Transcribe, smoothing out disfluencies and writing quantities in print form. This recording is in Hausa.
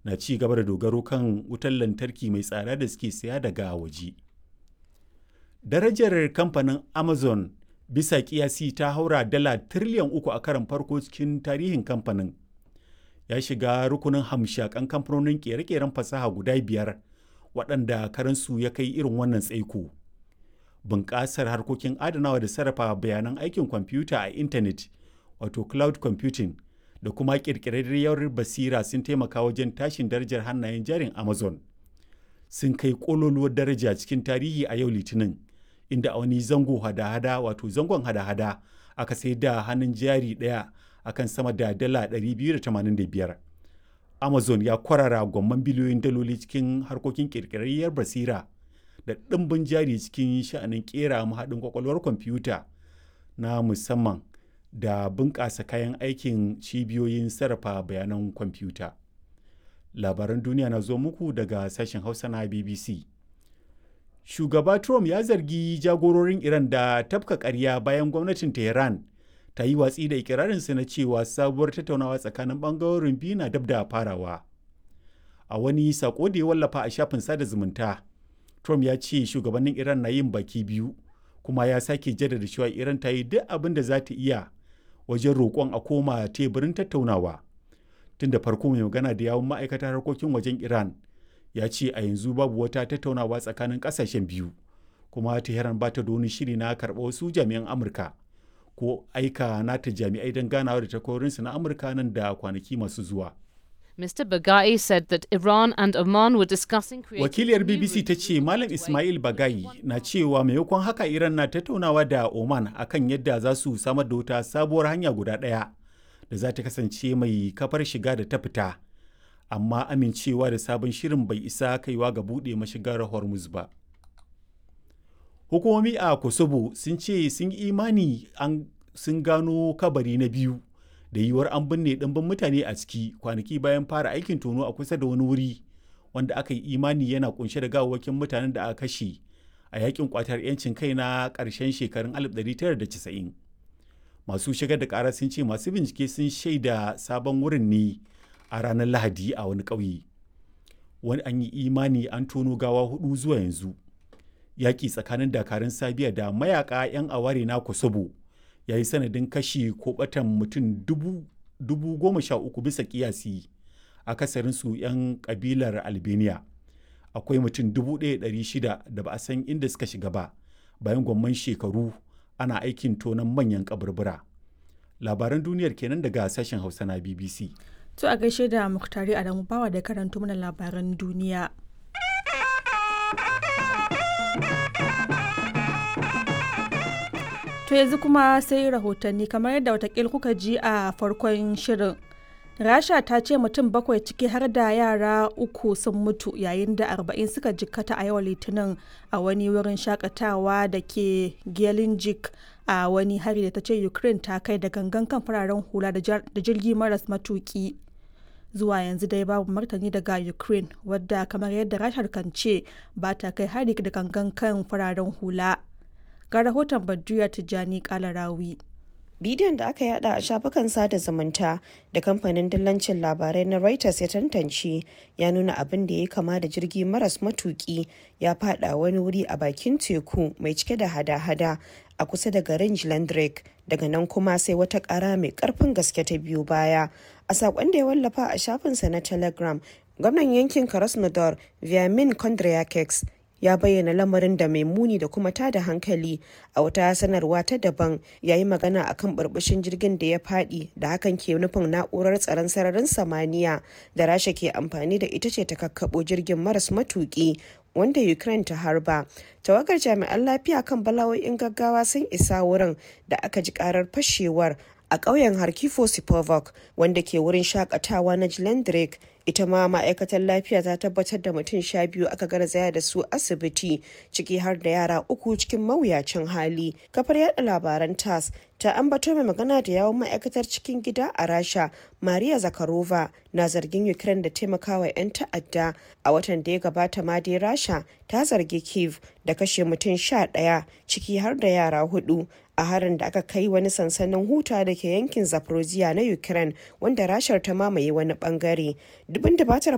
na ci gaba da dogaro kan wutar lantarki mai tsada da suke saya daga waje. Darajar kamfanin Amazon bisa kiyasi ta haura dala tiriliyan 3 a karon farko cikin tarihin kamfanin. Ya shiga rukunin hamshakan kamfanonin kere-keren fasaha guda biyar waɗanda karansu ya kai irin wannan tsaiko. Bunƙasar harkokin adanawa da sarrafa bayanan aikin kwamfuta a intanet, wato cloud computing, da kuma ƙirƙirarriyar basira sun taimaka wajen tashin darajar hannayen jarin Amazon. Sun kai ƙololuwar daraja cikin tarihi a yau Litinin, inda a wani zango hada-hada wato zangon hada-hada aka sai da hannun jari ɗaya akan sama da dala 285. Amazon ya kwarara gwamman biliyoyin daloli cikin harkokin ƙirƙirarriyar basira da ɗimbin jari cikin sha'anin ƙera mahaɗin kwakwalwar kwamfuta na musamman da bunƙasa kayan aikin cibiyoyin sarrafa bayanan kwamfuta. Labaran duniya na zo muku daga sashen Hausa na BBC. Shugaba Trump ya zargi jagororin Iran da tafka ƙarya bayan gwamnatin Tehran ta yi watsi da ikirarinsa na cewa sabuwar tattaunawa tsakanin ɓangarorin biyu na dab da farawa. A wani sako da ya wallafa a shafin sada zumunta, Trump ya ce shugabannin Iran na yin baki biyu, kuma ya sake jaddada cewa Iran ta yi duk abin da za ta iya wajen roƙon a koma teburin tattaunawa. Tun da farko mai magana da yawun ma'aikatar harkokin wajen Iran ya ce a yanzu babu wata tattaunawa tsakanin ƙasashen biyu, kuma Tehran ba ta da wani shiri na karɓa wasu jami'an Amurka ko aika nata jami'ai don ganawa da takwarorinsu na Amurka nan da kwanaki masu zuwa. Mr. Bagai said that Iran and Oman were discussing creating Wakiliyar BBC ta ce Malam Ismail Bagai na cewa maimakon haka Iran na tattaunawa da Oman akan yadda za su samar da wata sabuwar hanya guda ɗaya da za ta kasance mai kafar shiga da ta fita. Amma amincewa da sabon shirin bai isa kaiwa ga buɗe mashigar Hormuz ba. Hukumomi a Kosovo sun ce sun yi imani an sun gano kabari na biyu da yiwuwar an binne ɗimbin mutane a ciki kwanaki bayan fara aikin tono a kusa da wani wuri wanda aka yi imani yana kunshe da gawawwakin mutanen da aka kashe a yakin kwatar 'yancin kai na ƙarshen shekarun 1990. Masu shigar da ƙara sun ce masu bincike sun shaida sabon wurin ne a ranar Lahadi a wani ƙauye. Wani an yi imani an tono gawa hudu zuwa yanzu. Yaƙi tsakanin dakarun Sabiya da mayaka 'yan aware na Kosovo ya yi sanadin kashi ko batan mutum 13,000 bisa kiyasi, akasarinsu 'yan kabilar Albania. Akwai mutum 1,600 da ba a san inda suka shiga ba bayan gwamman shekaru ana aikin tonon manyan kaburbura. Labaran duniyar kenan daga sashen Hausa na BBC. To a gaishe da Muktari Adamu Bawa da karanto mana labaran duniya. To yanzu kuma sai rahotanni kamar yadda watakil kuka ji a farkon shirin. Rasha ta ce mutum bakwai ciki har da yara uku sun mutu yayin da 40 suka jikkata a yau Litinin a wani wurin shakatawa da ke Gelenjik a wani hari da ta ce Ukraine ta kai da gangan kan fararen hula da jirgi maras matuki. Zuwa yanzu dai babu martani daga Ukraine, wadda kamar yadda Rashar kan ce ba ta kai hari da gangan kan fararen hula. Ga rahoton Badriya Tijjani Kalarawi. Bidiyon da aka yada a shafukan sada zumunta da kamfanin dillancin labarai na Reuters ya tantance ya nuna abin da ya kama da jirgi maras matuki ya fada wani wuri a bakin teku mai cike da hada-hada a kusa da garin Jlandrek. Daga nan kuma sai wata kara mai karfin gaske ta biyu baya. A saƙon da ya wallafa a shafinsa na Telegram, gwamnan yankin Krasnodar Vyamin Kondryakeks ya bayyana lamarin da mai muni da kuma tada hankali. A wata sanarwa ta daban, ya yi magana akan burbushin jirgin da ya fadi, da hakan ke nufin na'urar tsaron sararin samaniya da Rasha ke amfani da ita ce ta kakkabo jirgin maras matuki wanda Ukraine ta harba. Tawagar jami'an lafiya kan bala'o'in gaggawa sun isa wurin da aka ji karar fashewar a ƙauyen Harkifo Sipovok wanda ke wurin shakatawa na Jlendrik. Ita ma ma'aikatar lafiya ta tabbatar da mutum 12 aka garzaya da su asibiti, ciki har da yara uku cikin mawuyacin hali. Kafar yada labaran TASS ta ambato mai magana da yawon ma'aikatar cikin gida a Rasha, Maria Zakharova, na zargin Ukraine da taimakawa 'yan ta'adda. A watan da ya gabata ma dai Rasha ta zargi Kiev da kashe mutum 11, ciki har da yara hudu, a harin da aka kai wani sansanin huta da ke yankin Zaporozhye na Ukraine wanda Rashar ta mamaye wani bangare. Dubin dubatar